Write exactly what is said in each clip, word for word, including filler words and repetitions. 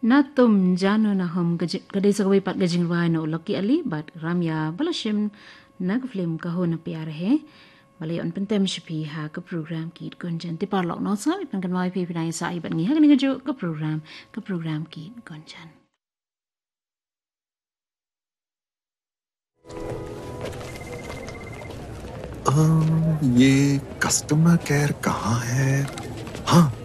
Na Tum Jano Na Hum ka ji-, ka dei sa kawei pat ka jingrwai na u Lucky Ali bad Ramya ba la shim na ka film Kaho Na Pyar Hai. Ba la ïoh ban pyntem sha phi ha ka program Geet Gunjan. Te paralok, nongsngap, phi pan kynmaw, phi phi nang ïa sah hi bad ngi ha kane kajuh ka program, ka program Geet Gunjan. अ, ये कस्टमर केयर कहाँ है? हाँ।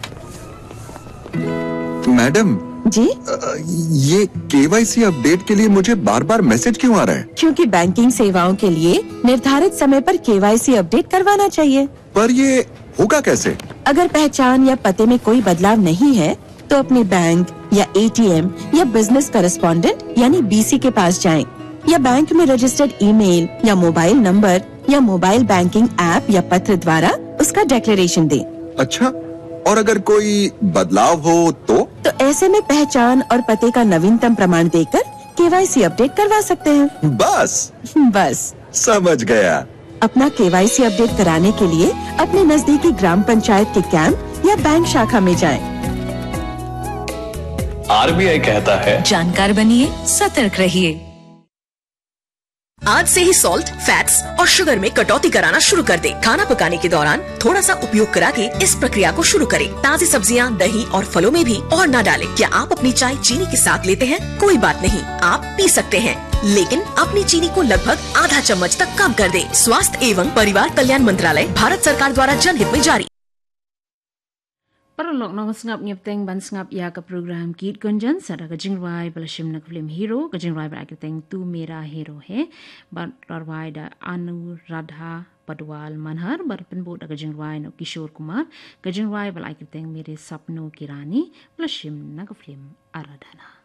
मैडम, जी? अ, ये केवाईसी अपडेट के लिए मुझे बार-बार मैसेज क्यों आ रहा है? क्योंकि बैंकिंग सेवाओं के लिए निर्धारित समय पर केवाईसी अपडेट करवाना चाहिए। पर ये होगा कैसे? अगर पहचान या पते में कोई बदलाव नहीं है, तो अपने बैंक या एटीएम या बिजनेस करेस्पॉन्डेंट यानी बीसी के पास जाएं, या बैंक में रजिस्टर्ड ईमेल या मोबाइल नंबर या मोबाइल बैंकिंग ऐप या पत्र द्वारा उसका डिक्लेरेशन दें। अच्छा, और अगर कोई बदलाव हो तो? तो ऐसे में पहचान और पते का नवीनतम प्रमाण देकर केवाईसी अपडेट करवा सकते हैं। बस? बस। समझ गया। अपना केवाईसी अपडेट कराने के लिए अपने नजदीकी ग्राम पंचायत के कैंप या बैंक शाखा में जाएं। आरबीआई कहता है, जानकार बनिए, सतर्क रहिए। आज से ही सॉल्ट, फैट्स और शुगर में कटौती कराना शुरू कर दें। खाना पकाने के दौरान थोड़ा सा उपयोग करा के इस प्रक्रिया को शुरू करें। ताजी सब्जियां, दही और फलों में भी और ना डालें। क्या आप अपनी चाय चीनी के साथ लेते हैं? कोई बात नहीं, आप पी सकते हैं, लेकिन अपनी चीनी को लगभग आधा चम्मच तक कम कर दें। स्वास्थ्य एवं परिवार कल्याण मंत्रालय, भारत सरकार द्वारा जनहित में जारी। Paralok, nongsngap, ngi ïa bteng ban sngap ïa ka program Geet Gunjan, sa da ka jingrwai ba la shim na ka film Hero, ka jingrwai ba la ai kyrteng Tu Mera Hero Hai, bad la rwai da Anuradha Padwal Manhar, bad pynbud da ka jingrwai na u Kishore Kumar, ka jingrwai ba la ai kyrteng Mere Sapno Ki Rani, ba la shim na ka film Aradhana.